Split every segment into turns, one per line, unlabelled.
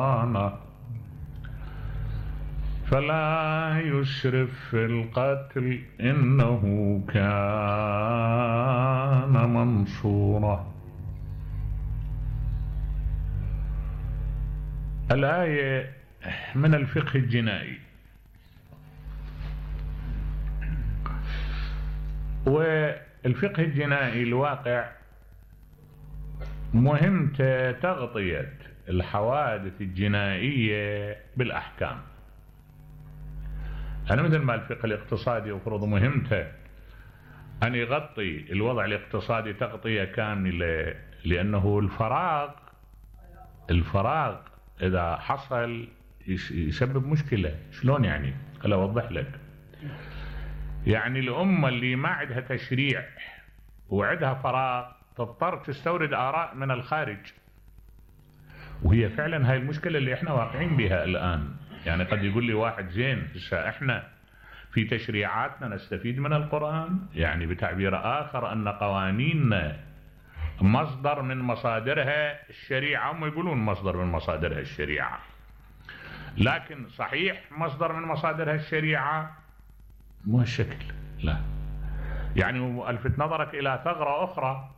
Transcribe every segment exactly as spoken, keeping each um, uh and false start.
أنا فلا يسرف في القتل إنه كان منصورا. الآية من الفقه الجنائي، والفقه الجنائي الواقع مهمته تغطية الحوادث الجنائية بالأحكام. أنا مثل ما الفقه الاقتصادي أفرض مهمته أن يغطي الوضع الاقتصادي تغطية كاملة، لأنه الفراغ الفراغ إذا حصل يسبب مشكلة. شلون يعني؟ خل أوضح لك. يعني الأمة اللي ما عندها تشريع وعندها فراغ تضطر تستورد آراء من الخارج، وهي فعلا هاي المشكلة اللي احنا واقعين بها الآن. يعني قد يقول لي واحد زين هسه احنا في تشريعاتنا نستفيد من القرآن، يعني بتعبير آخر أن قوانيننا مصدر من مصادرها الشريعة. هم يقولون مصدر من مصادرها الشريعة، لكن صحيح مصدر من مصادرها الشريعة مو هالشكل، لا. يعني ألفت نظرك إلى ثغرة أخرى.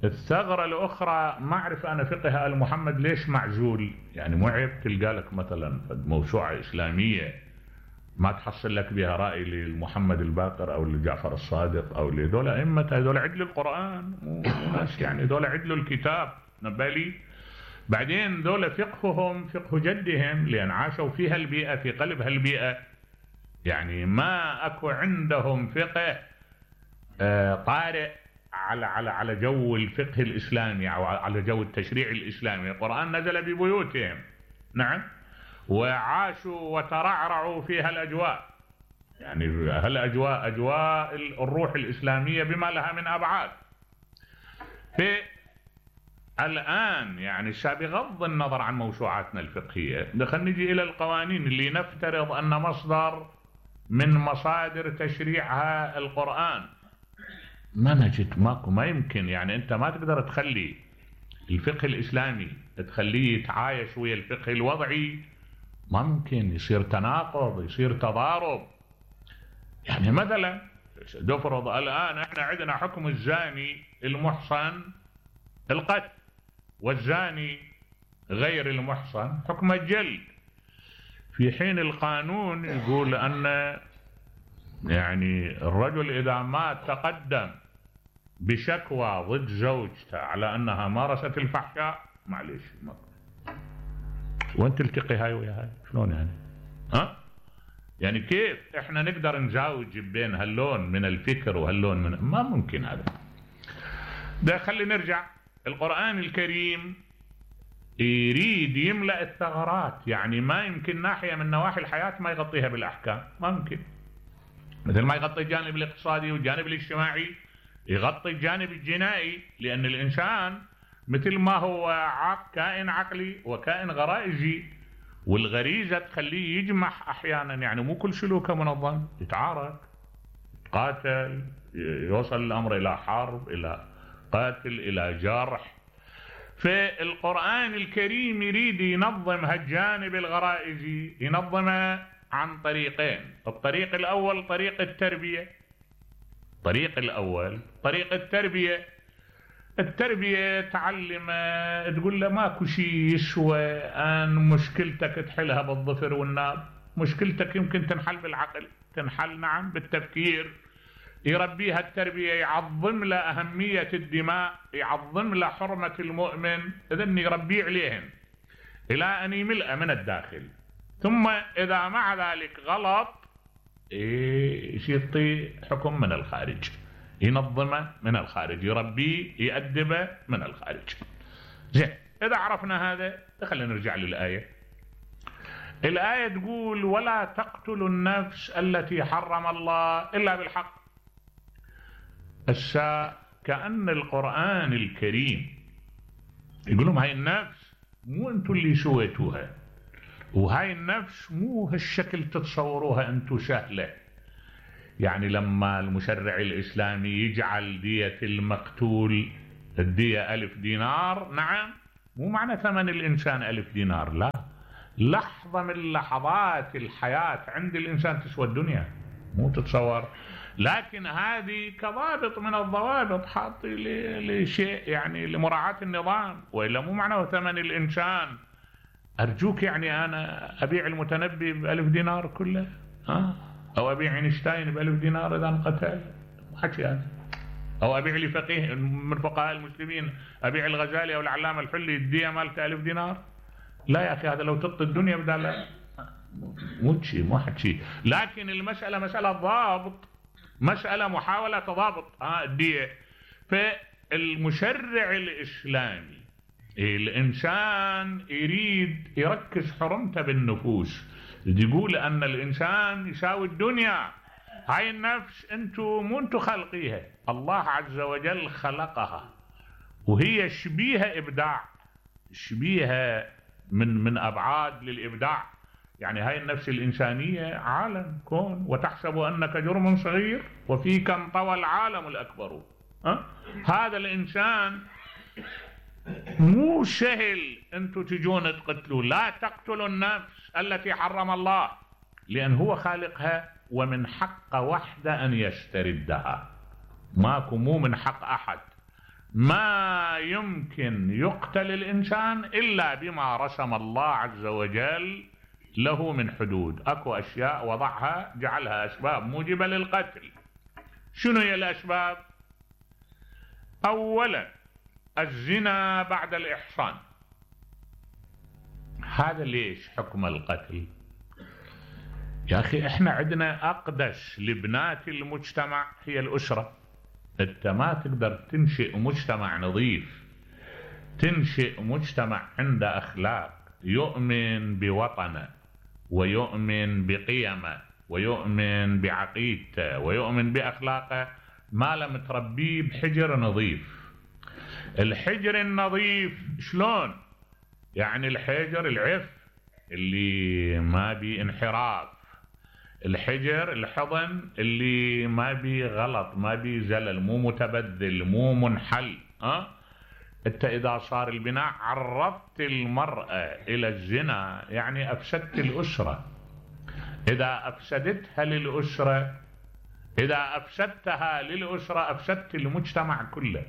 الثغرة الأخرى ما أعرف أنا فقه آل محمد ليش معزول. يعني مو عيب تلقى لك مثلا موسوعة إسلامية ما تحصل لك بها رأي لمحمد الباقر أو لجعفر الصادق أو لدول أئمة. هذول عدل القرآن، مو ناس يعني دول عدل الكتاب نبالي. بعدين دول فقههم فقه جدهم، لأن عاشوا فيها البيئة، في قلب هالبيئة. يعني ما أكو عندهم فقه آه طارئ على على على جو الفقه الإسلامي أو على جو التشريع الإسلامي. القرآن نزل ببيوتهم، نعم، وعاشوا وترعرعوا فيها الأجواء. يعني هالأجواء أجواء الروح الإسلامية بما لها من أبعاد. في الآن يعني بغض النظر عن موسوعاتنا الفقهية، خلينا نجي إلى القوانين اللي نفترض أن مصدر من مصادر تشريعها القرآن. ما نجد، ماكو، ما يمكن. يعني أنت ما تقدر تخلي الفقه الإسلامي تخليه يتعايش ويا الفقه الوضعي. ما ممكن، يصير تناقض، يصير تضارب. يعني مثلا نفرض الآن احنا عندنا حكم الزاني المحصن القتل، والزاني غير المحصن حكم الجلد، في حين القانون يقول أن يعني الرجل إذا ما تقدم بشكوى ضد زوجته على أنها مارست الفحشاء، معليش، وين تلتقي هاي ويا هاي؟ شلون يعني؟ ها؟ يعني كيف احنا نقدر نزاوج بين هاللون من الفكر وهاللون من، ما ممكن هذا. ده خلي نرجع. القرآن الكريم يريد يملأ الثغرات. يعني ما يمكن ناحية من نواحي الحياة ما يغطيها بالأحكام، ما ممكن. مثل ما يغطي الجانب الاقتصادي والجانب الاجتماعي، يغطي الجانب الجنائي، لأن الإنسان مثل ما هو عق كائن عقلي وكائن غرائزي، والغريزة تخليه يجمح أحيانا. يعني مو كل سلوكه منظم، يتعارك، يتقاتل، يوصل الأمر إلى حرب، إلى قتل، إلى جرح. فالقرآن الكريم يريد ينظم هالجانب الغرائزي، ينظمه عن طريقين. الطريق الأول طريق التربية. الطريق الأول طريق التربية. التربية تعلم، تقول له ماكو شيء يسوى أن مشكلتك تحلها بالظفر والنار. مشكلتك يمكن تنحل بالعقل، تنحل نعم بالتفكير. يربيها التربية، يعظم له أهمية الدماء، يعظم له حرمة المؤمن، إذن يربيه عليهم إلى أن يملأ من الداخل. ثم إذا مع ذلك غلط يعطي حكم من الخارج، ينظمه من الخارج، يربيه، يأدبه من الخارج. زين، إذا عرفنا هذا خلينا نرجع للآية. الآية تقول: ولا تقتلوا النفس التي حرم الله إلا بالحق. السا كأن القرآن الكريم يقول لهم هاي النفس مو انتوا اللي سويتوها، وهاي النفس مو هالشكل تتصوروها انتوا سهلة. يعني لما المشرع الإسلامي يجعل دية المقتول الدية ألف دينار، نعم، مو معنى ثمن الإنسان ألف دينار، لا، لحظة من لحظات الحياة عند الإنسان تسوى الدنيا، مو تتصور. لكن هذه كضابط من الضوابط حاطي لشيء يعني لمراعاة النظام، وإلا مو معناه ثمن الإنسان. أرجوك يعني أنا أبيع المتنبي بألف دينار كله، ها؟ أو أبيع اينشتاين بألف دينار إذا انقتل، حكي هذا. أو أبيع لي فقيه من فقهاء المسلمين، أبيع الغزالي أو العلامة الحلي الدية مالته ألف دينار. لا يا أخي، هذا لو تعطي الدنيا بدل مو شيء، مو حكي. لكن المسألة مسألة ضابط، مسألة محاولة تضابط ها الدية. فالمشرع الإسلامي الإنسان يريد يركز حرمته بالنفوس، يقول أن الإنسان يساوي الدنيا. هاي النفس انتو مو انتو خلقيها، الله عز وجل خلقها، وهي شبيهة إبداع، شبيهة من من أبعاد للإبداع. يعني هاي النفس الإنسانية عالم كون، وتحسب أنك جرم صغير وفيك انطوى العالم الأكبر. أه؟ هذا الإنسان مو سهل انتو تجون تقتلوا. لا تقتلوا النفس التي حرم الله، لأن هو خالقها، ومن حق وحده أن يستردها. ماكو، مو من حق أحد. ما يمكن يقتل الإنسان إلا بما رسم الله عز وجل له من حدود. أكو أشياء وضعها، جعلها أسباب موجبة للقتل. شنو هي الأسباب؟ أولا الزنا بعد الإحصان. هذا ليش حكم القتل؟ يا أخي احنا عندنا أقدس لبنات المجتمع هي الأسرة. انت ما تقدر تنشئ مجتمع نظيف، تنشئ مجتمع عنده أخلاق، يؤمن بوطنه ويؤمن بقيمه ويؤمن بعقيدته ويؤمن بأخلاقه، ما لم تربيه بحجر نظيف. الحجر النظيف شلون؟ يعني الحجر العف اللي ما بي انحراف، الحجر الحضن اللي ما بي غلط، ما بي زلل، مو متبذل، مو منحل. أه؟ انت اذا صار البناء عرضت المرأة الى الزنا يعني افسدت الاسرة. اذا افسدتها للاسرة، اذا افسدتها للاسرة افسدت المجتمع كله،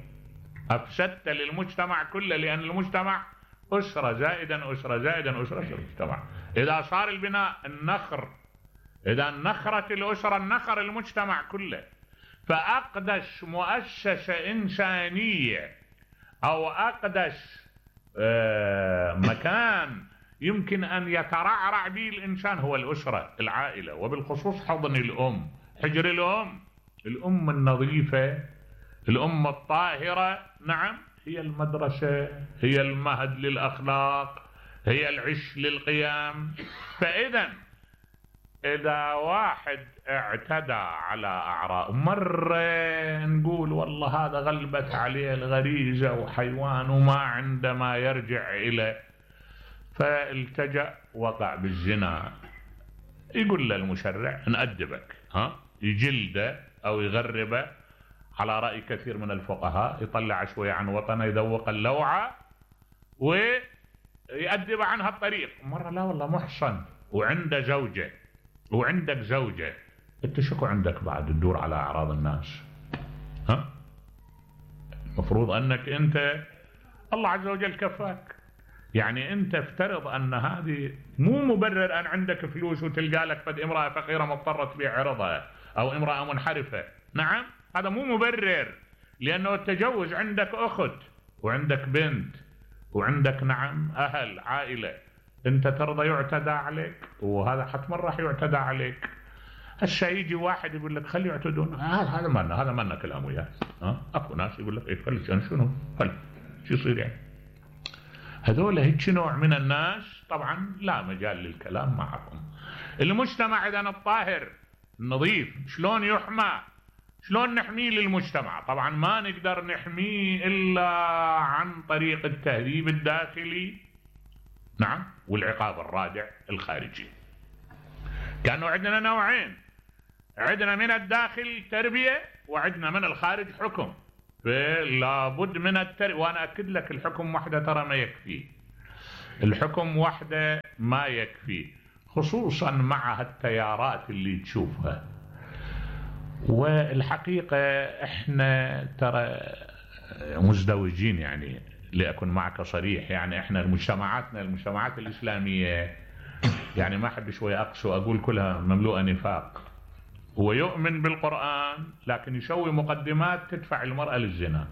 افسدت للمجتمع كله، لان المجتمع اسرة زائدا اسرة زائدا اسرة المجتمع. اذا صار البناء النخر، اذا نخرت الاسرة النخر المجتمع كله. فاقدس مؤسسة انسانية او اقدس آه مكان يمكن ان يترعرع به الانسان هو الاسرة، العائلة، وبالخصوص حضن الام، حجر الام. الام النظيفة، الام الطاهرة، نعم، هي المدرسة، هي المهد للاخلاق، هي العش للقيام. فاذا اذا واحد اعتدى على اعراض، مرة نقول والله هذا غلبت عليه الغريزة وحيوان وما عنده ما يرجع اليه، فالتجأ وقع بالزنا، يقول له المشرع نأدبك، ها، يجلده او يغربه على رأي كثير من الفقهاء، يطلع شوية عن وطنه، يذوق اللوعة ويأدب عنها الطريق. مرة لا والله محصن وعنده زوجة، وعندك زوجة، انت شكو عندك بعد تدور على اعراض الناس؟ ها؟ المفروض انك انت الله عز وجل كفاك. يعني انت افترض ان هذه مو مبرر ان عندك فلوس وتلقى لك فد امرأة فقيرة مضطرة تبيع عرضها او امرأة منحرفة. نعم، هذا مو مبرر، لانه التجوز عندك اخت وعندك بنت وعندك نعم اهل عائلة، انت ترضى يعتدى عليك؟ وهذا حتما راح يعتدى عليك. هسه يجي واحد يقول لك خلي يعتدون، هذا هذا مالنا، هذا مالنا كلام وياه. ها اكو ناس يقول لك ايه خلي شنو خلي شو يصير يعني. هذول هيك نوع من الناس طبعا لا مجال للكلام معكم. المجتمع اذا الطاهر النظيف شلون يحمى؟ شلون نحميه للمجتمع؟ طبعا ما نقدر نحميه الا عن طريق التهذيب الداخلي، نعم، والعقاب الرادع الخارجي. كانوا عندنا نوعين، عندنا من الداخل تربية وعندنا من الخارج حكم. لابد من التر وانا اكد لك الحكم وحده ترى ما يكفي، الحكم وحده ما يكفي، خصوصا مع هالتيارات اللي تشوفها. والحقيقة احنا ترى مزدوجين، يعني لأكون معك صريح، يعني احنا مجتمعاتنا المجتمعات الإسلامية يعني ما أحب شوي أقسو أقول كلها مملوءة نفاق. هو يؤمن بالقرآن لكن يسوي مقدمات تدفع المرأة للزنا.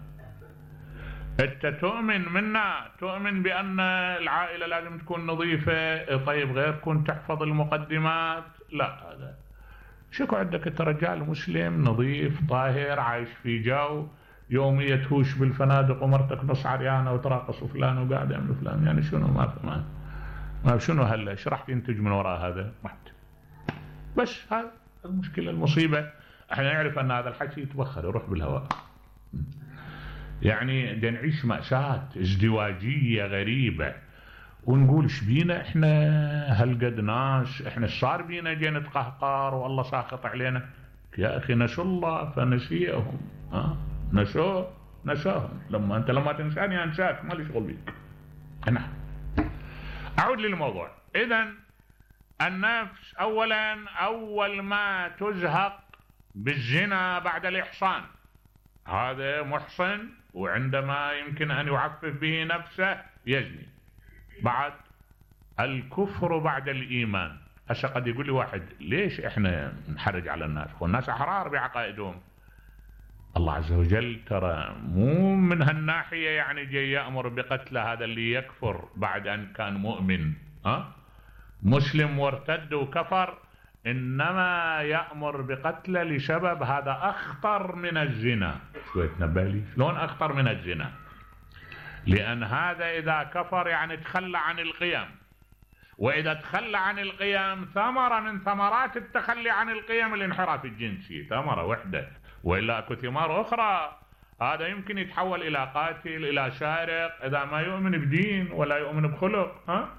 انت تؤمن منا تؤمن بأن العائلة لازم تكون نظيفة، طيب غيركم تحفظ المقدمات؟ لا، هذا شكو عندك انت رجال مسلم نظيف طاهر عايش في جو، يومية تهوش بالفنادق ومرتك نص عريانة وتراقص فلان وقاعد يعمل فلان، يعني شنو ما فهمان ما شنو هلا ايش راح ينتج من وراء هذا؟ ما بس هذا المشكلة المصيبة. احنا نعرف ان هذا الحكي يتبخر يروح بالهواء، يعني بدنا نعيش مأساة ازدواجية غريبة ونقول ايش بينا احنا هالقد ناس، احنا صار بينا جينا نتقهقر والله ساخط علينا؟ يا اخي نسوا الله فنسيهم، ها نسوا نساهم، لما انت لما تنساني انساك ما لي شغل بيك. نعم، اعود للموضوع. اذا النفس اولا اول ما تزهق بالزنا بعد الاحصان، هذا محصن وعندما يمكن ان يعفف به نفسه يزني. بعد الكفر بعد الايمان. هسه قد يقول لي واحد ليش احنا نحرج على الناس؟ والناس احرار بعقائدهم. الله عز وجل ترى مو من هالناحية يعني جاي يأمر بقتل هذا اللي يكفر بعد ان كان مؤمن، ها مسلم وارتد وكفر، انما يأمر بقتله لسبب هذا اخطر من الزنا. شوية تنبه لي شلون اخطر من الزنا؟ لان هذا اذا كفر يعني تخلى عن القيم، واذا تخلى عن القيم ثمرة من ثمرات التخلي عن القيم الانحراف الجنسي، ثمرة وحدة، والا اكو ثمار اخرى. هذا يمكن يتحول الى قاتل الى سارق اذا ما يؤمن بدين ولا يؤمن بخلق. ها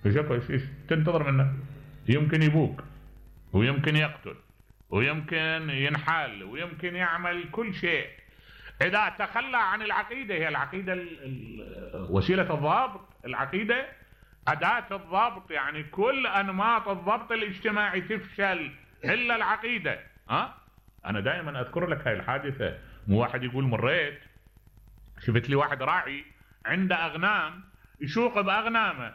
ايش تنتظر منه؟ يمكن يبوك ويمكن يقتل ويمكن ينحل ويمكن يعمل كل شيء. إذا تخلى عن العقيدة، هي العقيدة وسيلة الضابط، العقيدة أداة الضبط، يعني كل أنماط الضبط الاجتماعي تفشل إلا العقيدة. ها أنا دائما أذكر لك هاي الحادثة. مو واحد يقول مريت شفت لي واحد راعي عنده أغنام يشوق بأغنامه،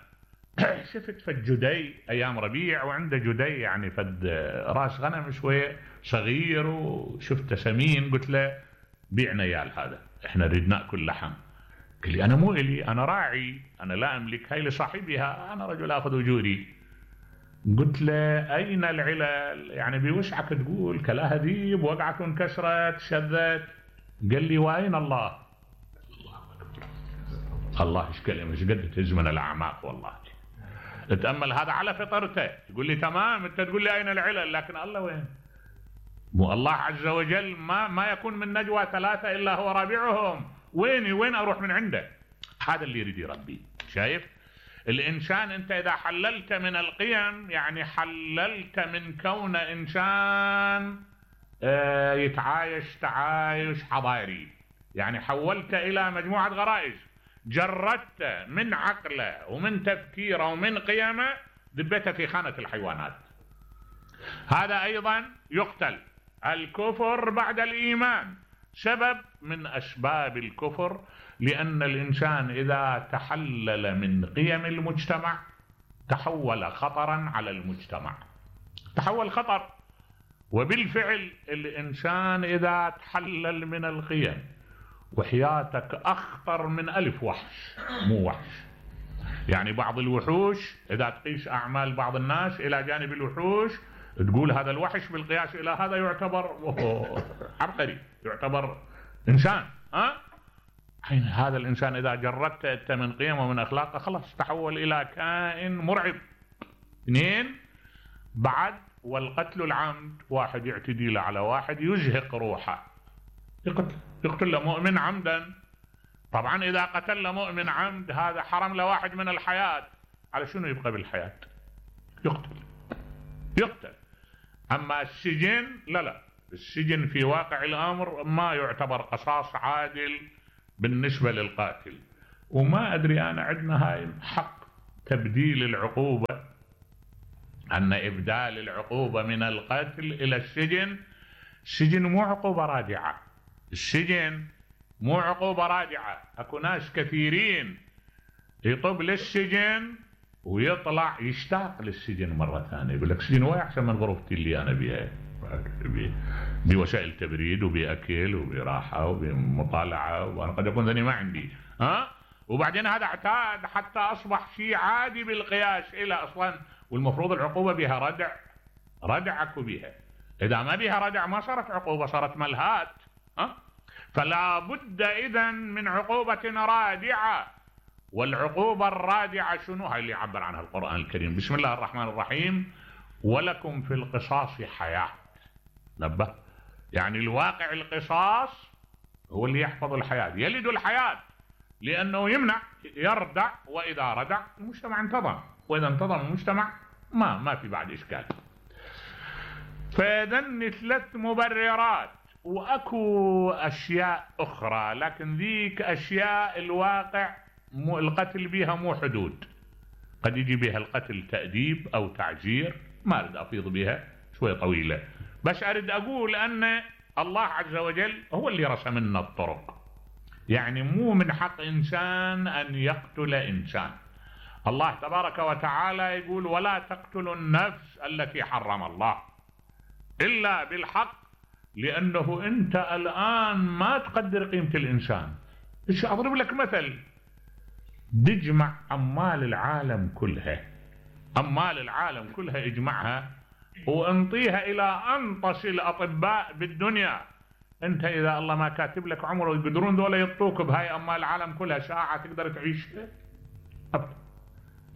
شفت فد جدي ايام ربيع وعنده جدي يعني فد راس غنم شويه صغير وشفته سمين، قلت له بيعنا يال هذا احنا نريد ناكل لحم. قال لي انا مو الي انا راعي انا لا املك، هاي لصاحبها انا رجل اخذ اجوري. قلت له اين العلل؟ يعني بوسعك تقول كلاها ذيب وقعت انكسرت شذت. قال لي واين الله؟ الله اكبر، الله ايش كلمه ايش قد تهزمن الاعماق والله. تأمل هذا على فطرته، يقول لي تمام انت تقول لي اين العلل، لكن الله وين؟ مو الله عز وجل ما ما يكون من نجوى ثلاثة الا هو رابعهم، وين وين اروح من عنده؟ هذا اللي يريد يربي. شايف الانسان انت اذا حللت من القيم يعني حللت من كون انسان يتعايش تعايش حضاري، يعني حولت الى مجموعة غرائز، جردت من عقله ومن تفكيره ومن قيمه دبته في خانة الحيوانات. هذا ايضا يقتل. الكفر بعد الايمان سبب من اسباب الكفر، لان الانسان اذا تحلل من قيم المجتمع تحول خطرا على المجتمع، تحول خطر. وبالفعل الانسان اذا تحلل من القيم، وحياتك اخطر من الف وحش، مو وحش يعني بعض الوحوش اذا تقيس اعمال بعض الناس الى جانب الوحوش تقول هذا الوحش بالقياس الى هذا يعتبر عبقري، يعتبر انسان. ها حين هذا الانسان اذا جردت انت من قيمه ومن اخلاقه خلاص تحول الى كائن مرعب. اثنين بعد والقتل العمد، واحد يعتدي له على واحد يزهق روحه يقتل يقتل له مؤمن عمدا. طبعا اذا قتل مؤمن عمد هذا حرم له واحد من الحياة، على شنو يبقى بالحياة؟ يقتل يقتل. اما السجن لا لا السجن في واقع الأمر ما يعتبر قصاص عادل بالنسبة للقاتل. وما أدري أنا عندنا هاي حق تبديل العقوبة، أن إبدال العقوبة من القتل إلى السجن. السجن مو عقوبة رادعة، السجن مو عقوبة رادعة. أكو ناس كثيرين يطب للسجن ويطلع يشتاق للسجن مرة ثانية، يقول لك سجن واحد أحسن من غرفتي اللي أنا بيها، بوسائل تبريد وبأكل وبراحة وبمطالعة، وأنا قد يكون ذني ما عندي ها. وبعدين هذا اعتاد حتى أصبح شيء عادي بالقياس إلى أصلا، والمفروض العقوبة بها ردع، ردع أكو بها. إذا ما بها ردع ما صارت عقوبة، صارت ملهات ها. فلا بد إذن من عقوبة رادعة. والعقوبة الرادعة شنو؟ هاي اللي يعبر عنها القرآن الكريم. بسم الله الرحمن الرحيم: ولكم في القصاص حياة. نبه، يعني الواقع القصاص هو اللي يحفظ الحياة، يلد الحياة، لأنه يمنع يردع، وإذا ردع المجتمع انتظم، وإذا انتظم المجتمع ما ما في بعد إشكال. فذن ثلاث مبررات، وأكو أشياء أخرى، لكن ذيك أشياء الواقع القتل بها مو حدود، قد يجي بها القتل تأديب أو تعزير، ما أريد أفيض بها شوية طويلة، بس أريد أقول أن الله عز وجل هو اللي رسم لنا الطرق. يعني مو من حق إنسان أن يقتل إنسان. الله تبارك وتعالى يقول: ولا تقتلوا النفس التي حرم الله إلا بالحق، لأنه أنت الآن ما تقدر قيمة الإنسان. إيش أضرب لك مثل: تجمع أموال العالم كلها، أموال العالم كلها اجمعها وانطيها إلى أنطس الأطباء بالدنيا، أنت إذا الله ما كاتب لك عمره يقدرون دولة يطوك بهاي أموال العالم كلها ساعة تقدر تعيش أبدا.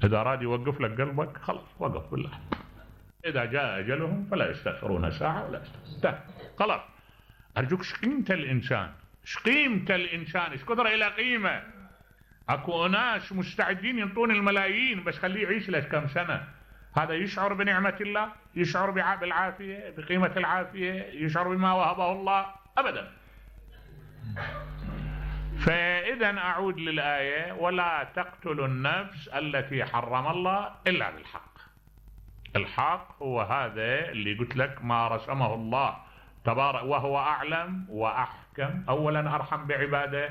إذا راد يوقف لك قلبك خلاص وقف بالله. إذا جاء أجلهم فلا يستأخرون ساعة ولا يستأخرون خلاص. أرجوك ايش قيمة الإنسان؟ ايش قيمة الإنسان؟ ايش قدر إلى قيمة؟ أكو ناس مستعدين ينطون الملايين بس خليه يعيش لك كم سنة. هذا يشعر بنعمة الله؟ يشعر بالعافية، بقيمة العافية، يشعر بما وهبه الله؟ أبدا. فإذا أعود للآية: ولا تقتلوا النفس التي حرم الله إلا بالحق. الحق هو هذا اللي قلت لك ما رسمه الله تبارك وهو أعلم وأحكم. أولا أرحم بعباده.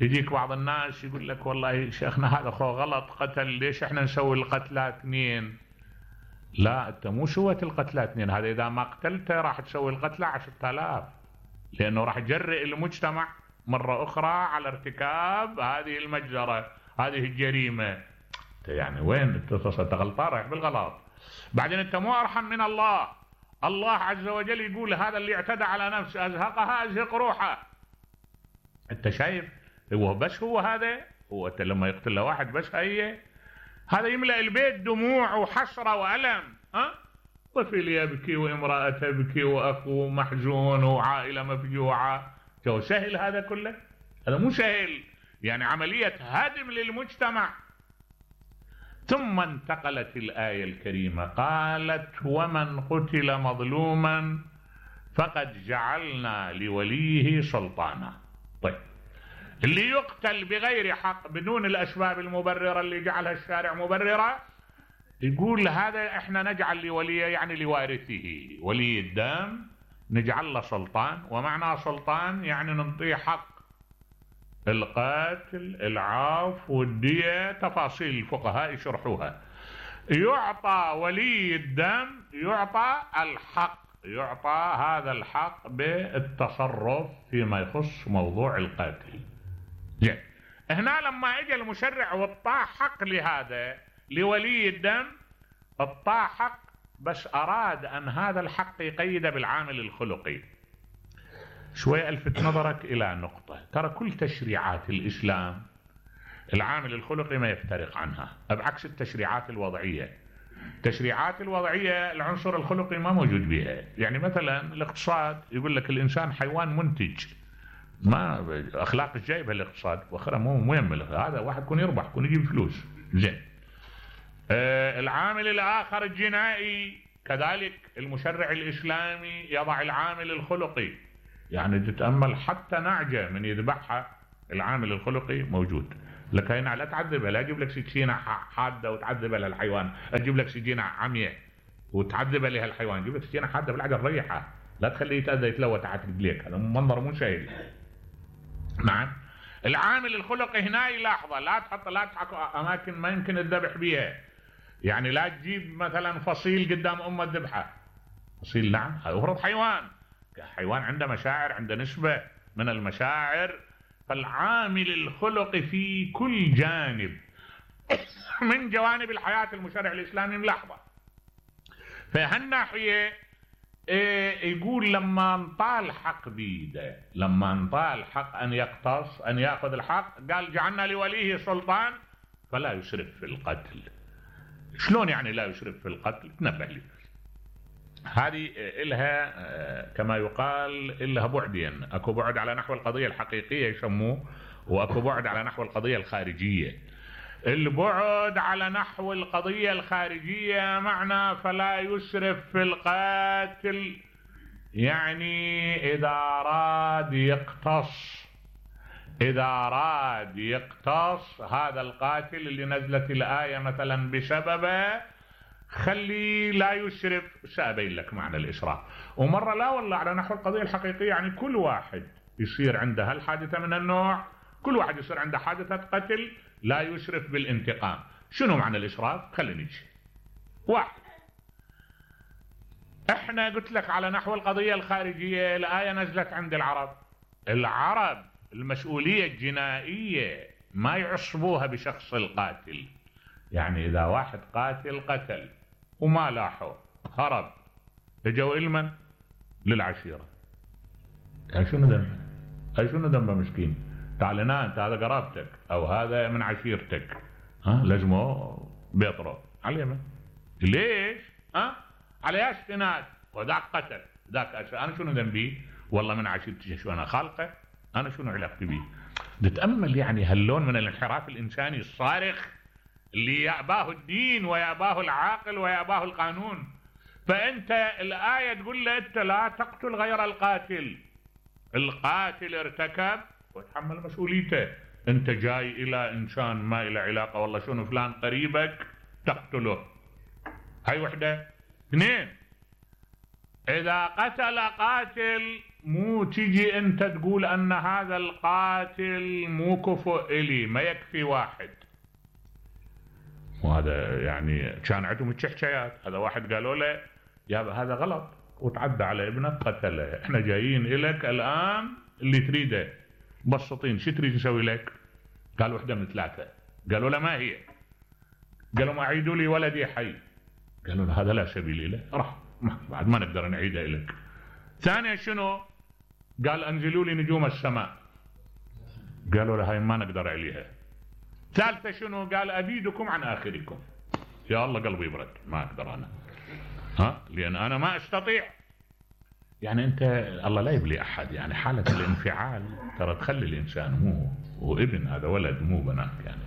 يجيك بعض الناس يقول لك: والله شيخنا هذا خو غلط قتل، ليش احنا نسوي القتلى اثنين؟ لا، انت مو سويت القتلى اثنين، هذا اذا ما قتلته راح تسوي القتلى عشرة آلاف، لانه راح يجرئ المجتمع مرة اخرى على ارتكاب هذه المجزرة، هذه الجريمة. يعني وين انت غلطان، رايح بالغلط. بعدين انت مو ارحم من الله. الله عز وجل يقول: هذا اللي اعتدى على نفسه ازهقها ازهق روحه. انت شايف هو بس هو هذا، هو انت لما يقتل له واحد بس هي هذا يملأ البيت دموع وحسرة وألم، ها؟ طفل يبكي وامرأة تبكي وأخو محزون وعائلة مفجوعة. جو سهل هذا كله؟ هذا مو سهل، يعني عملية هدم للمجتمع. ثم انتقلت الآية الكريمة قالت: ومن قتل مظلوما فقد جعلنا لوليه سلطانا. طيب، اللي يقتل بغير حق بدون الأسباب المبررة اللي جعلها الشارع مبررة، يقول هذا احنا نجعل لوليه، يعني لوارثه ولي الدم نجعل له سلطان. ومعنى سلطان يعني ننطيه حق القاتل، العاف والدية، تفاصيل الفقهاء يشرحوها. يعطى ولي الدم، يعطى الحق، يعطى هذا الحق بالتصرف فيما يخص موضوع القاتل. زين، هنا لما اجى المشرع واعطاه حق لهذا لولي الدم، اعطاه حق بس اراد ان هذا الحق يقيده بالعامل الخلقي. شوي الفت نظرك الى نقطة، ترى كل تشريعات الاسلام العامل الخلقي ما يفترق عنها، بعكس التشريعات الوضعية. التشريعات الوضعية العنصر الخلقي ما موجود بها. يعني مثلا الاقتصاد يقول لك الانسان حيوان منتج، ما اخلاق جايبه الاقتصاد واخره مو مهم، هذا واحد يكون يربح يكون يجيب فلوس. زين، آه العامل الاخر الجنائي كذلك المشرع الإسلامي يضع العامل الخلقي، يعني تتأمل حتى نعجة من يذبحها العامل الخلقي موجود. لك هنا لا تعذبها، لا أجيب لك سكينة حادة وتعذبها للحيوان، أجيب لك سكينة عمياء وتعذبها لها الحيوان، أجيب لك سكينة حادة بالعكس ريحها، لا تخليه يتأذى يتلوى تحت رجليك، هذا منظر مو سهل. نعم. العامل الخلقي هنا يلاحظه، لا تحط لا تحط أماكن ما يمكن الذبح بها، يعني لا تجيب مثلا فصيل قدام أمه تذبحه، فصيل نعم هذا مفروض حيوان، حيوان عنده مشاعر، عنده نسبة من المشاعر. فالعامل الخلقي في كل جانب من جوانب الحياة المشرع الإسلامي ملاحظة. فهالناحية إيه يقول لما انطال حق بيده، لما انطال حق أن يقتص أن يأخذ الحق، قال جعلنا لوليه سلطان فلا يسرف في القتل. شلون يعني لا يسرف في القتل؟ تنبه لي. هذه إلها كما يقال إلها بعدين، أكو بعد على نحو القضية الحقيقية يسموه، وأكو بعد على نحو القضية الخارجية. البعد على نحو القضية الخارجية معنى فلا يسرف في القاتل، يعني إذا أراد يقتص، إذا أراد يقتص هذا القاتل اللي نزلت الآية مثلا بسببه، خلي لا يسرف. سأبين لك معنى الإسراف. ومرة لا والله على نحو القضية الحقيقية، يعني كل واحد يصير عنده هالحادثة من النوع، كل واحد يصير عنده حادثة قتل لا يسرف بالانتقام. شنو معنى الإسراف؟ خلينا نجي. واحد، احنا قلت لك على نحو القضية الخارجية الآية نزلت عند العرب، العرب المسؤولية الجنائية ما يعصبوها بشخص القاتل، يعني إذا واحد قاتل قتل وما لاحوا هرب، اجوا إلمن للعشيرة، يعني شنو ذنبه؟ أي شنو ذنبه مسكين؟ تعال هنا أنت هذا قرابتك أو هذا من عشيرتك، ها لازمه بيطروا على اليمن. ليش؟ ها؟ على ايش تناد؟ وذاك قتل، ذاك أنا شنو ذنبي؟ والله من عشيرتي، شو أنا خالقه؟ أنا شنو علاقتي بيه؟ تتأمل يعني هاللون من الانحراف الإنساني الصارخ اللي يأباه الدين ويأباه العاقل ويأباه القانون. فأنت الآية تقول له أنت لا تقتل غير القاتل، القاتل ارتكب وتحمل مسؤوليته. أنت جاي إلى إنسان ما إلى علاقة، والله شنو فلان قريبك تقتله، هاي وحدة. اثنين، إذا قتل قاتل مو تجي أنت تقول أن هذا القاتل مو كفؤ إلي، ما يكفي واحد. وهذا يعني كان عندهم الشحشيات، هذا واحد قالوا له يا هذا غلط وتعدى على ابنك قتله، احنا جايين إلك الآن اللي تريده بسطين، شو تريد نسوي لك؟ قال وحدة من ثلاثة. قالوا له ما هي؟ قالوا ما عيدوا لي ولدي حي. قالوا له هذا لا سبيل له، راح بعد ما نقدر نعيده لك. ثانية شنو؟ قال انزلوا لي نجوم السماء. قالوا له هاي ما نقدر عليها. ثالثة شنو؟ قال أبيدكم عن آخركم. يا الله قلبي يبرد، ما أقدر أنا، ها لأن أنا ما أستطيع. يعني أنت الله لا يبلي أحد، يعني حالة الانفعال ترى تخلي الإنسان مو وابن هذا ولد مو بنات، يعني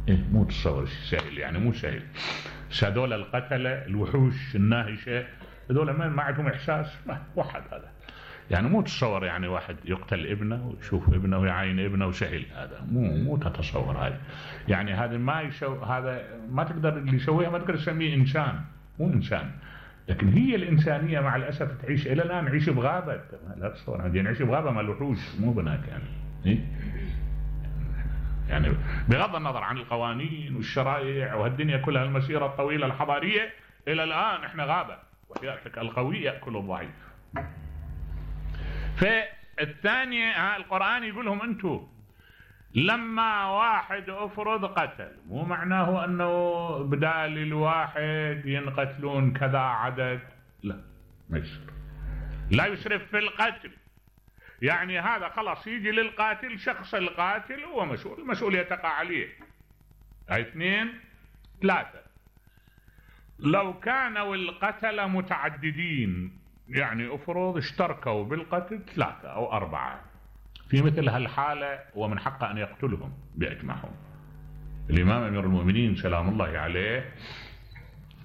إيه مو تصور سهل، يعني مو سهل. هذول القتلة الوحوش الناهشة هذول ما ما عندهم إحساس، ما واحد هذا يعني مو تصور يعني واحد يقتل ابنه ويشوف ابنه ويعاين ابنه وسهل، هذا مو مو تتصور هاي. يعني هذا ما يسو هذا ما تقدر اللي يسويها ما تقدر تسميه إنسان، مو إنسان. لكن هي الإنسانية مع الأسف تعيش إلى الآن، نعيش بغابة، لا تصور يعني نعيش بغابة مع الوحوش مو بناك يعني. إيه؟ يعني بغض النظر عن القوانين والشرائع وهالدنيا كلها المسيرة الطويلة الحضارية إلى الآن إحنا غابة، وحياتك القوي يأكل الضعيف. فالثانية القرآن يقول لهم أنتم لما واحد أفرض قتل مو معناه أنه بدال الواحد ينقتلون كذا عدد، لا ما يصير، لا يسرف في القتل. يعني هذا خلاص يجي للقاتل، شخص القاتل هو مسؤول، المسؤولية تقع عليه. اثنين، ثلاثة، لو كانوا القتلة متعددين، يعني افرض اشتركوا بالقتل ثلاثة او اربعة، في مثل هالحالة ومن حقه ان يقتلهم باجمعهم. الامام امير المؤمنين سلام الله عليه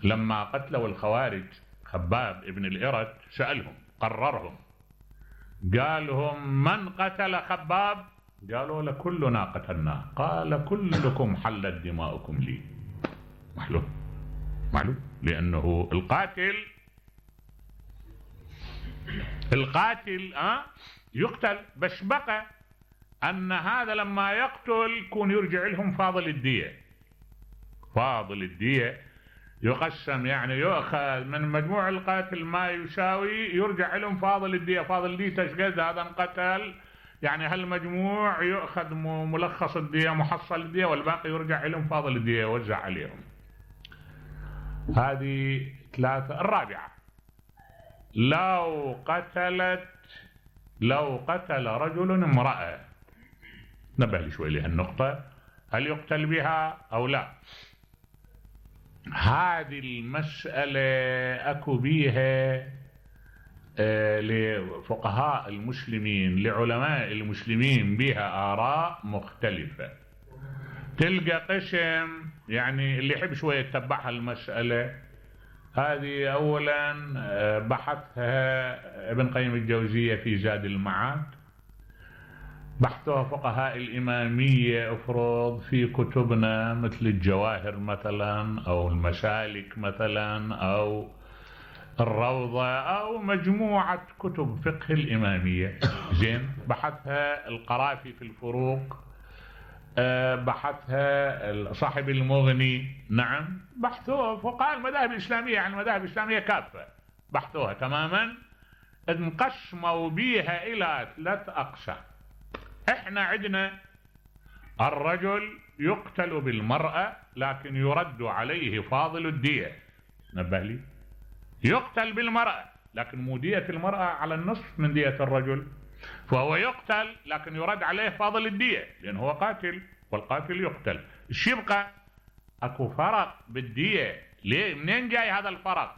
لما قتلوا الخوارج خباب ابن الإرت سألهم قررهم، قال لهم من قتل خباب؟ قالوا لكلنا قتلناه. قال كلكم حلت دماؤكم لي. معلوم معلوم لأنه القاتل القاتل أه يقتل، بس بقى أن هذا لما يقتل يكون يرجع لهم فاضل الدية. فاضل الدية يقسم، يعني يؤخذ من مجموع القاتل ما يساوي، يرجع لهم فاضل الدية. فاضل دي تشقد هذا انقتل، يعني هالمجموع يؤخذ ملخص الدية محصل الدية، والباقي يرجع لهم فاضل الدية يوزع عليهم. هذه ثلاثة. الرابعة، لو قتلت لو قتل رجل امرأة. نبه لي شوي لهالنقطة، هل يقتل بها أو لا؟ هذه المسألة أكو بيها آه لفقهاء المسلمين لعلماء المسلمين بها آراء مختلفة. تلقى قسم يعني اللي يحب شوية يتبعها المسألة هذه. أولا بحثها ابن قيم الجوزية في زاد المعاد، بحثها فقهاء الإمامية أفرض في كتبنا مثل الجواهر مثلا أو المسالك مثلا أو الروضة أو مجموعة كتب فقه الإمامية. زين، بحثها القرافي في الفروق، بحثها صاحب المغني. نعم، بحثوها فقهاء المذاهب الإسلامية، يعني المذاهب الإسلامية كافة بحثوها تماما، انقسموا بيها إلى ثلاث أقسام. احنا عندنا الرجل يقتل بالمرأة لكن يرد عليه فاضل الدية. نبه لي، يقتل بالمرأة لكن مو دية المرأة على النصف من دية الرجل، فهو يقتل لكن يرد عليه فاضل الدية لأنه هو قاتل، والقاتل يقتل. ايش يبقى؟ اكو فرق بالدية. ليه؟ منين جاي هذا الفرق؟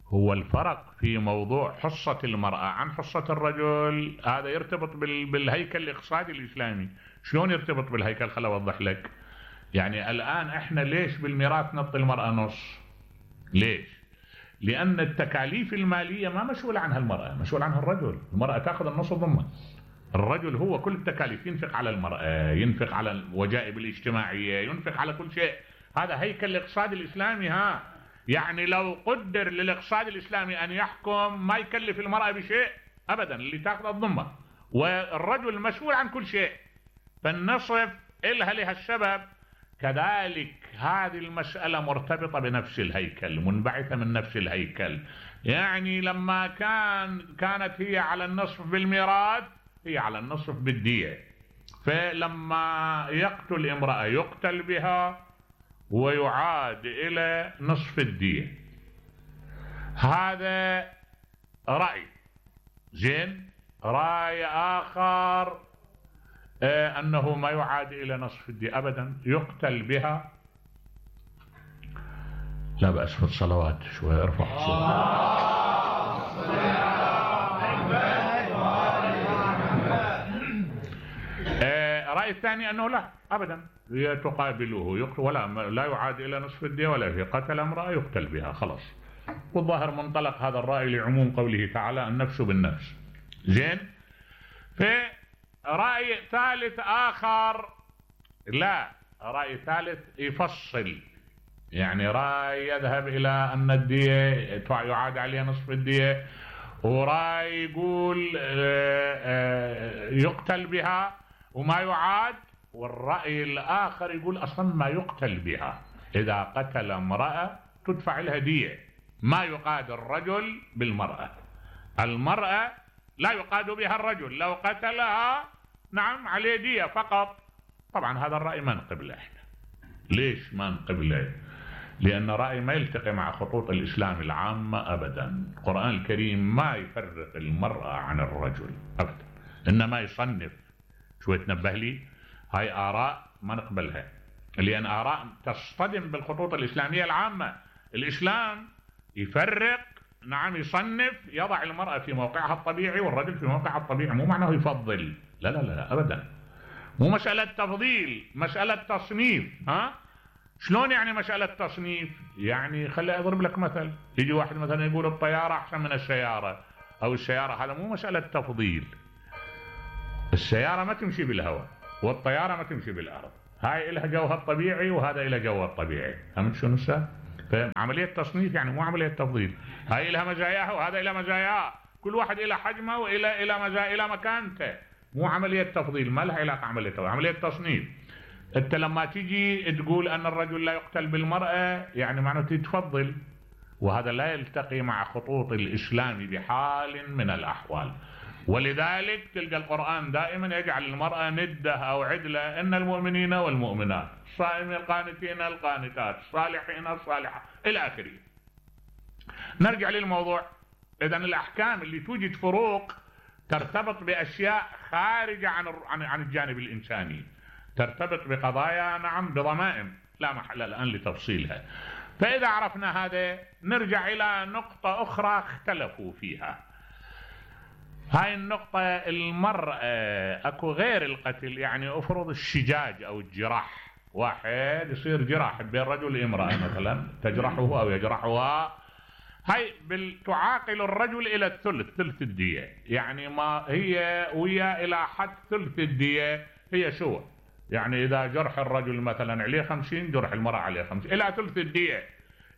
هو الفرق في موضوع حصة المرأة عن حصة الرجل. هذا يرتبط بالهيكل الاقتصادي الإسلامي. شلون يرتبط بالهيكل؟ خل أوضح لك. يعني الآن احنا ليش بالميراث نعطي المرأة نص؟ ليش؟ لأن التكاليف المالية ما مسؤول عنها المرأة، مسؤول عنها الرجل. المرأة تأخذ النص ضمن الرجل، هو كل التكاليف ينفق على المرأة، ينفق على الوجائب الاجتماعية، ينفق على كل شيء. هذا هيكل الاقتصاد الإسلامي. ها يعني لو قدر للاقتصاد الإسلامي أن يحكم ما يكلف المرأة بشيء أبدا، اللي تأخذ الضمة، والرجل مسؤول عن كل شيء، فالنصف إلها لها السبب. كذلك هذه المسألة مرتبطة بنفس الهيكل، منبعثة من نفس الهيكل. يعني لما كان كانت هي على النصف بالميراث هي على النصف بالدية، فلما يقتل امرأة يقتل بها ويعاد إلى نصف الدية. هذا رأي. زين، رأي آخر آه أنه ما يعاد إلى نصف الدية أبدا، يقتل بها. لا بأس في الصلوات شوي، ارفع الصوت. الرأي الثاني أنه لا أبدا، هي تقابله يقتل ولا لا يعاد إلى نصف الدية، ولا في قتل امرأة يقتل بها خلاص. والظاهر منطلق هذا الرأي لعموم قوله تعالى النفس بالنفس. زين، في رأي ثالث آخر لا، رأي ثالث يفصل، يعني رأي يذهب إلى أن الدية يعاد عليها نصف الدية، ورأي يقول يقتل بها وما يعاد، والرأي الآخر يقول أصلا ما يقتل بها. إذا قتل امرأة تدفع لها دية، ما يقاد الرجل بالمرأة. المرأة لا يقاد بها الرجل، لو قتلها نعم عليه دية فقط. طبعا هذا الرأي ما نقبله احنا. ليش ما نقبله؟ لأن رأي ما يلتقي مع خطوط الإسلام العامة أبدا. القرآن الكريم ما يفرق المرأة عن الرجل أبدا، إنما يصنف. شوي تنبه لي، هاي آراء ما نقبلها، لأن آراء تصطدم بالخطوط الإسلامية العامة. الإسلام يفرق، نعم يصنف، يضع المرأة في موقعها الطبيعي والرجل في موقعها الطبيعي. مو معناه يفضل، لا لا لا أبدا، مو مسألة تفضيل، مسألة تصنيف. ها شلون يعني مسألة تصنيف؟ يعني خلي اضرب لك مثل، يجي واحد مثلا يقول الطيارة احسن من السيارة او السيارة، هذا مو مسألة تفضيل. السيارة ما تمشي بالهواء والطيارة ما تمشي بالارض، هاي لها جوها الطبيعي وهذا لها جوها الطبيعي، فهمت شنو هسه؟ فعملية تصنيف يعني مو عملية تفضيل، هاي لها مزاياها وهذا لها مزاياه، كل واحد الى حجمه والى الى مزايا الى مكانته، مو عملية تفضيل، ما لها علاقة عملية تفضيل، عملية تصنيف. انت لما تيجي تقول ان الرجل لا يقتل بالمرأة يعني معناته تفضل، وهذا لا يلتقي مع خطوط الاسلام بحال من الاحوال. ولذلك تلقى القرآن دائما يجعل المرأة ندة او عدلة، ان المؤمنين والمؤمنات، الصائمين القانتين القانتات، الصالحين الصالحات الى اخره. نرجع للموضوع. اذا الاحكام اللي توجد فروق ترتبط باشياء خارجة عن عن عن الجانب الانساني، ترتبط بقضايا نعم بضمائم لا محل الان لتفصيلها. فاذا عرفنا هذا نرجع الى نقطة اخرى اختلفوا فيها. هاي النقطة، المرأة اكو غير القتل، يعني افرض الشجاج او الجراح، واحد يصير جراح بين رجل وامرأة مثلا تجرحه او يجرحها، هاي تعاقل الرجل الى الثلث، ثلث الدية، يعني ما هي ويا الى حد ثلث الدية هي شو؟ يعني اذا جرح الرجل مثلا عليه خمسين، جرح المرأة عليه خمسين، الى ثلث الدية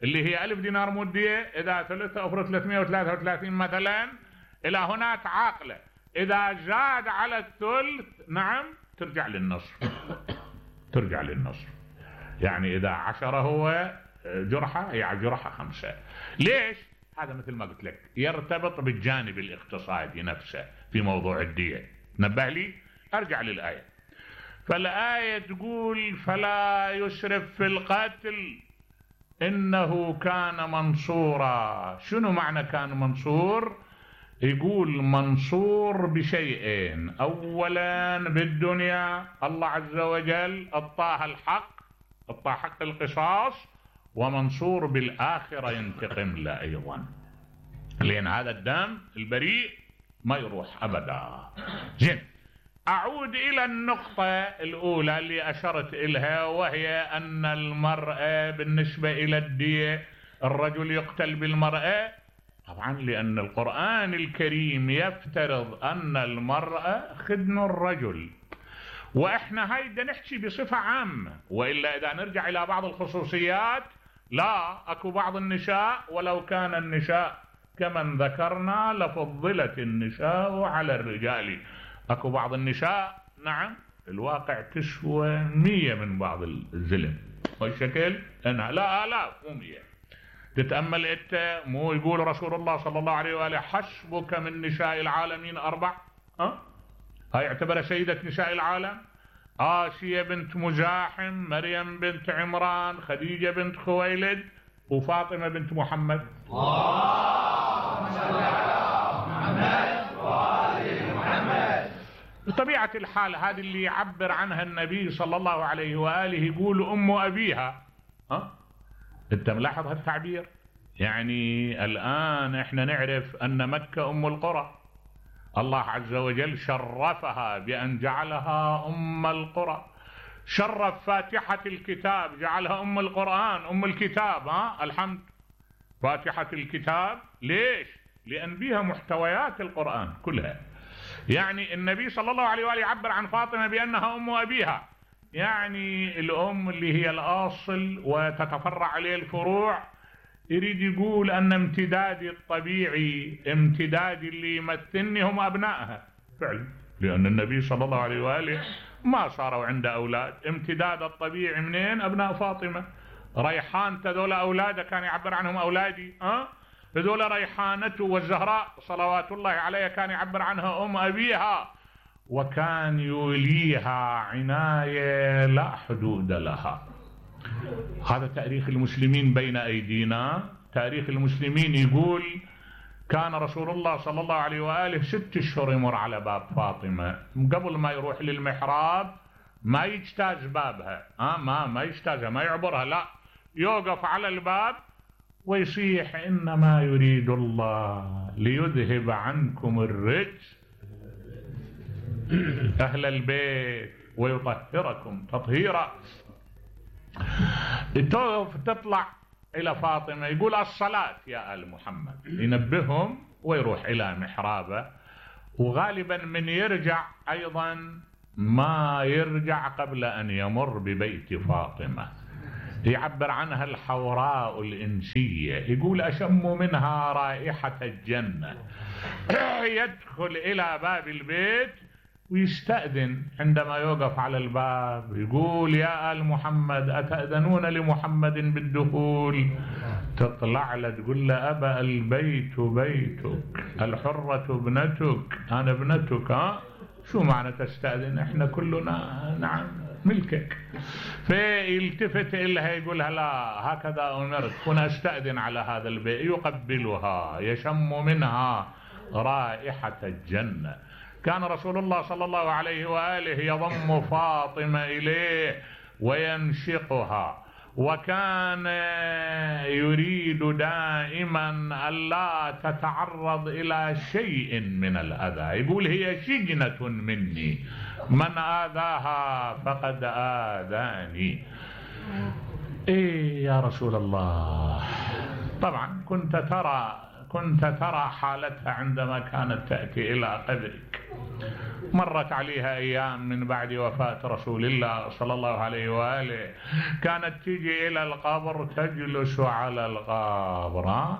اللي هي ألف دينار مو الدية، اذا ثلثها افرض ثلاثمائة وثلاثة وثلاثين مثلا، الى هنا تعاقله، اذا زاد على الثلث نعم ترجع للنصف، ترجع للنصف. يعني اذا عشرة هو جرحة هي جرحة خمسة. ليش؟ هذا مثل ما قلت لك يرتبط بالجانب الاقتصادي نفسه في موضوع الدية. نبه لي ارجع للآية. فالآية تقول فلا يسرف في القتل انه كان منصورا. شنو معنى كان منصور؟ يقول منصور بشيئين، اولا بالدنيا الله عز وجل اعطاه الحق، اعطاه حق القصاص، ومنصور بالاخرة ينتقم له ايضا، لان هذا الدم البريء ما يروح ابدا. زين، اعود الى النقطة الاولى اللي اشرت الها، وهي ان المرأة بالنسبة الى الدية الرجل يقتل بالمرأة، طبعا لان القرآن الكريم يفترض ان المرأة خدن الرجل، واحنا هاي بدنا نحكي بصفة عامة، والا اذا نرجع الى بعض الخصوصيات لا، اكو بعض النساء ولو كان النساء كمن ذكرنا لفضلت النساء على الرجال، اكو بعض النساء نعم الواقع تسوى مية من بعض الزلم، والشكل انا لا لا مو مية. تتأمل انت، مو يقول رسول الله صلى الله عليه وآله حسبك من نساء العالمين اربع، ها هاي يعتبر سيدة نساء العالم، آسية بنت مزاحم، مريم بنت عمران، خديجة بنت خويلد، وفاطمة بنت محمد. اللهم صل على محمد وآل محمد. بطبيعة الحال هذه اللي يعبر عنها النبي صلى الله عليه وآله يقول أم أبيها، ها انت ملاحظ هالتعبير؟ يعني الآن احنا نعرف أن مكة أم القرى، الله عز وجل شرفها بأن جعلها أم القرى، شرف فاتحة الكتاب جعلها أم القرآن، أم الكتاب، ها الحمد، فاتحة الكتاب. ليش؟ لأن بها محتويات القرآن كلها. يعني النبي صلى الله عليه وآله يعبر عن فاطمة بأنها أم أبيها، يعني الأم اللي هي الأصل وتتفرع عليه الفروع، يريد يقول أن امتدادي الطبيعي، امتدادي اللي يمثلني هم أبنائها فعلا، لأن النبي صلى الله عليه وآله ما صاروا عنده أولاد، امتداد الطبيعي منين؟ أبناء فاطمة. ريحان تذول أولاده كان يعبر عنهم أولادي، أه؟ هذول ريحانته والزهراء صلوات الله عليها كان يعبر عنها أم أبيها، وكان يوليها عناية لا حدود لها. هذا تاريخ المسلمين بين أيدينا. تاريخ المسلمين يقول كان رسول الله صلى الله عليه وآله ست اشهر يمر على باب فاطمة، قبل ما يروح للمحراب ما يجتاز بابها، آه ما ما يجتازها، ما يعبرها، لا يوقف على الباب ويصيح إنما يريد الله ليذهب عنكم الرجس أهل البيت ويطهركم تطهيرا. توقف تطلع إلى فاطمة يقول الصلاة يا آل محمد، ينبههم ويروح إلى محرابه. وغالبا من يرجع أيضا ما يرجع قبل أن يمر ببيت فاطمة، يعبر عنها الحوراء الإنسية، يقول أشم منها رائحة الجنة. يدخل إلى باب البيت ويستأذن، عندما يوقف على الباب يقول يا آل محمد أتأذنون لمحمد بالدخول؟ تطلع له تقول له أبا البيت بيتك، الحرة ابنتك، أنا ابنتك. ها شو معنى تستأذن؟ احنا كلنا نعم ملكك. فيلتفت إلها يقولها لا هكذا أمرت، كنا أستأذن على هذا البيت. يقبلها، يشم منها رائحة الجنة. كان رسول الله صلى الله عليه وآله يضم فاطمة إليه وينشقها، وكان يريد دائما ألا تتعرض إلى شيء من الأذى. يقول هي شجنة مني، من آذاها فقد آذاني. إيه يا رسول الله. طبعا كنت ترى كنت ترى حالتها عندما كانت تأتي إلى قبرك. مرت عليها أيام من بعد وفاة رسول الله صلى الله عليه وآله، كانت تيجي إلى القبر تجلس على القبر،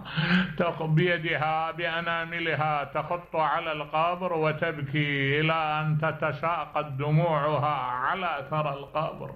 بيدها بأناملها تخط على القبر وتبكي إلى أن تتساقط دموعها على ثرى القبر.